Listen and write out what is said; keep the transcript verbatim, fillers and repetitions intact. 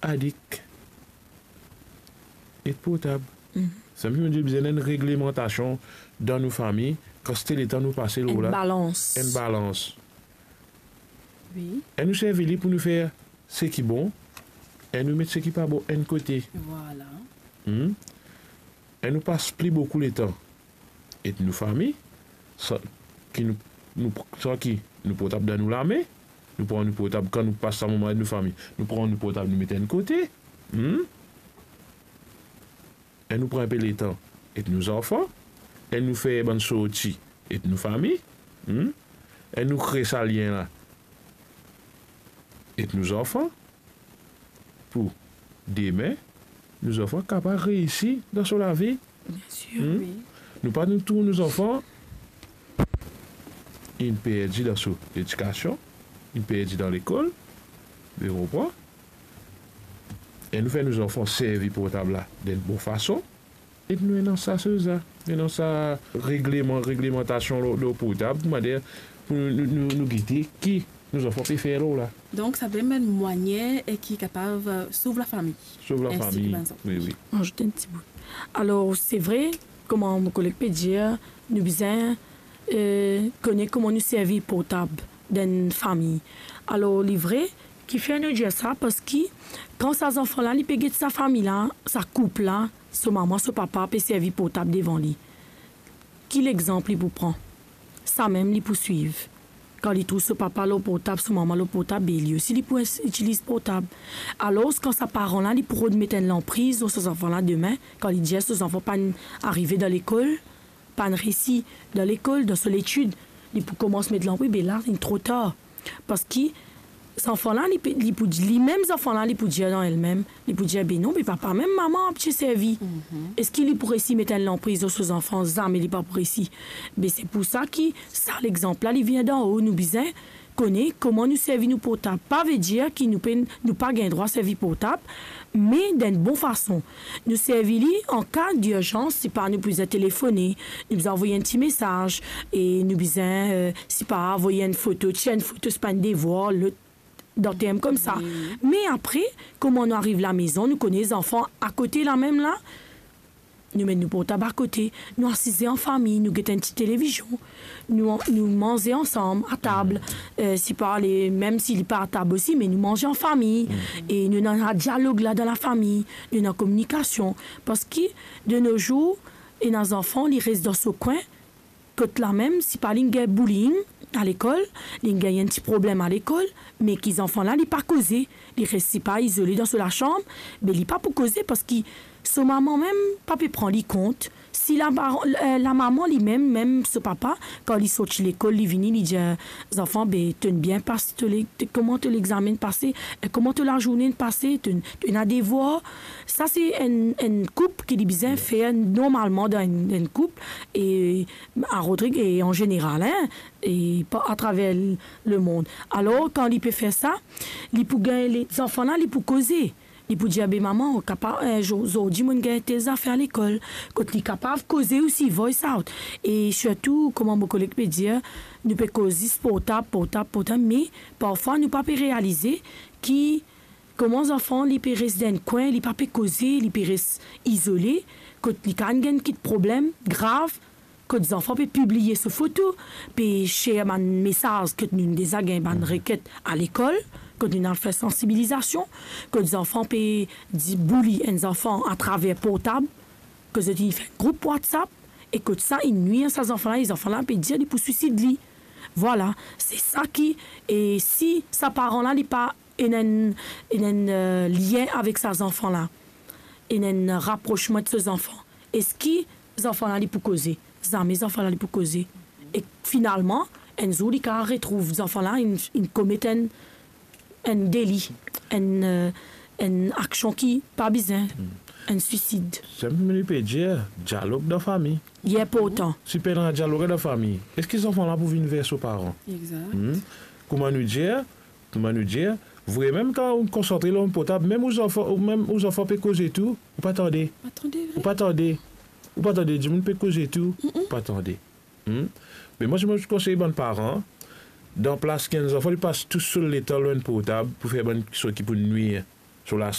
adik ek portab. Mhm. Samem nou bizin enn reglemantasion dan nou fami, kantite letan nou pase lor la. Enn balans. Enn balans. Wi. E nou servi li pou nou fer seki bon, e nou met seki pa bon enn kote. Vwala. Hmm? E nou pas pli boukou letan ek nou fami, san ki nou, nou, san ki nou portab dan nou lame, nou pran nou portab kan nou pas sa moman ek nou fami, nou pran nou portab, nou met enn kote. Hmm? E nou pran enpe letan ek nou zanfan, e nou fer bann sorti ek nou fami, hmm? E nou kre sa lien la ek nou zanfan, pou demin, nou zanfan kapav reisi dan so lavi. Biensir, hmm? Wi. Nou pa nou trouv nou zanfan inn perdi dan so ledikasion, inn perdi dan lekol, to konpran? E nou fer nou zanfan servi portab la dan enn bon fason. E nou ena sa soz la, nou ena sa regleman, reglemantasion lor, lor portab, manier pou nou, nou, nou, nou gete ki nou zanfan pe fer lor la. Donk, sa pe enn manier e ki kapav, eh, sov lafami. Sov lafami. Ensi ki bann zanfan. Wi, wi. Azout enn ti bout. Alor, se vre, kouma mo koleg pe dir, nou bizin, eh, kone kouma nou servi portab dan enn fami. Alor, li vre, kifer nou dir sa, parski kan sa zanfan la, li pe get sa fami la, sa koup la, so mama, so papa pe servi portab devan li, ki lexanp li pou pran? Samem li pou swiv. Kan li trouv so papa lor portab, so mama lor portab, be li osi li pou ins-, itiliz portab. Alor, kan sa paran la, li pou rod met enn lanpriz lor so zanfan la demin, kan li dir so zanfan pa'nn arive dan lekol, pa'nn reisi dan lekol, dan so letid, li pou koumans met lanpriz, be la, li tro tar. Parski zanfan la, li pe, li pou, limem zanfan la, li pou dir dan limem, li pou dir, "Be non, be papa, mem mama pe servi." Mhm. Eski li pou reisi met enn lanpriz lor so zanfan? Zame li pa pou reisi. Be se pou sa ki sa lexanp la, li vinn dan-o, nou bizin kone kouma nou servi nou portab. Pa vedir ki nou pe, nou pa gagn drwa servi portab, me dan enn bon fason. Nou servi li an ka dirzans, sipa nou bizin telefone, nou bizin avoy enn ti mesaz, e nou bizin, eh, sipa avoy enn foto, tir enn foto, sipa enn devwar, lot, dan term koumsa. Wi. Me apre, kouma nou ariv lamezon, nou kone zanfan akote lamem la, nou met nou portab akote, nou asize an fami, nou get enn ti televizion, nou, nou manze ansam atab, eh, sipa ale, mem si li pa atab osi, me nou manze an fami, e nou ena dialog la dan lafami, nou ena kominikasion. Parski, de nos jours, ena zanfan, li res dan so kwin, kot lamem, sipa li gagn bullying alekol, li gagn enn ti problem alekol, me ki zanfan la, li pa koze, li res sipa izole dan so lasam, be li pa pou koze, parski so mama mem pa pe pran li kont. Si la, eh, lamama limem, mem so papa, kan li sorti lekol, li vini, li dir, "Zanfan, be, to'nn bien pase, to le-, to, kouma to lexame pase, eh, kouma to lazourne pase, to, to ena devwar?" Sa se enn, enn koup ki li bizin fer normalman dan enn, enn koup, e a Rodrig e an zeneral, hein, e pa atraver lemond. Alor, kan li pe fer sa, li pou gagn le-, zanfan la, li pou koze. Li pou dir, "Be mama, ou kapav, eh, zo-, zordi mo'nn gagn tel zafer lekol." Kot li kapav koze osi, voice out. E sirtou, kouma mo koleg pe dir, nou pe koz zis portab, portab, portab, me parfwa nou pa pe realize ki kouma zanfan, li pe res dan enn kwin, li pa pe koze, li pe res izole, kot li kapav gagn kit problem grav, kot zanfan pe pibliye so foto, pe share bann mesaz kot nou deza gagn bann reket alekol, kot nou al fer sansibilizasion, kot zanfan pe di-, bully enn zanfan atraver portab, kot zot inn fer group WhatsApp, e kot sa inn nwir sa zanfan la, e zanfan la pe dir li pou swisid li. Vwala, se sa ki, e si sa paran la, li pa ena enn, ena enn, eh, lien avek sa zanfan la, ena enn raprosman ek so zanfan, eski zanfan la, li pou koze? Zame zanfan la, li pou koze. E finalman, enn zour, li kapav retrouv zanfan la, inn, inn komet enn, enn deli, enn, eh, enn aksion ki pa bizin, enn swisid. Samem li pe dir, dialog dan fami. Li inportan. Si pena dialog dan fami, eski zanfan la pou vinn ver so paran? Egzak. Hmm? Kouma nou dir, kouma nou dir, vre mem kan ou konsantre lor portab, mem ou zanfan, ou mem ou zanfan pe koze tou, ou pa tande. Pa tande, vre. Ou pa tande. Ou pa tande, dimoun pe koze tou, ou pa tande. Hmm? Me mwa, si mo konsey bann paran, dan plas ki enn zanfan li pas tou so letan lor enn portab pou fer bann kiksoz ki pou nwir so la,